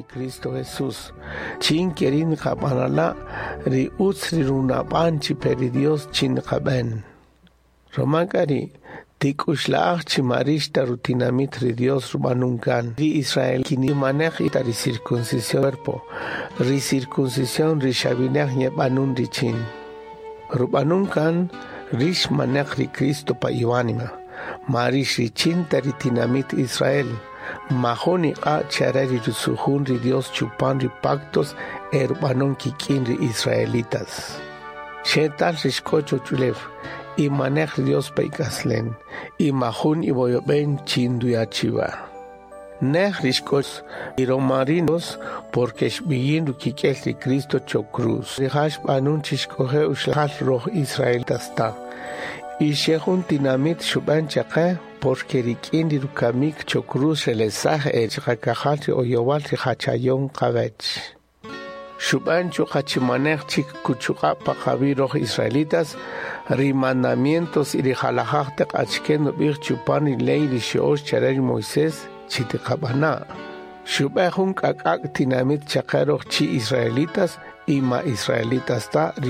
Ri Cristo Jesús. Chin kerin qabanala ri utz ri runab'an chi pe ri Dios chin qab'en. Romakari tikuxla'aj chi marix ta rutinamit ri Dios rub'anun kan. Ri Israel kinimanej ita ri circuncisión cuerpo. Ri circuncisión ri xabinej ñeb'anun richin. Rub'anun kan rix manej ri Cristo pa iwanima. Marix richin ta ri tinamit Israel. Majun iq'a' chare ri rusujun ri Dios chupan ri pactos e rub'anun kik'in ri israelitas. Xetal rixk'o choch'ulew y manej ri Dios pa ik'aslen y majun iwoyob'en chin nduya' chiwa. Nej rixk'o y romarinos porque xb'iyin rukik'el ri Cristo cho cruz. Rija' xb'anun chi xk'oje' uxlajal roj israelitas ta. Y xe jun tinamit xub'an chaqe porque rik'in ri rukamik cho cruz xelesaj e chiqakajal ri oyowal ri jachayon qawech. Xub'an chuqa chimanej chik kuchuq'a' pa qawi' roj israelitas ri mandamientos y ri jalajaj taq achike nub'ij chupan ri ley ri xyo'ox chare ri Moisés chi tiqab'ana'. Xub'ej jun k'ak'ak' tinamit chaqe roj chi israelitas y ma israelitas ta ri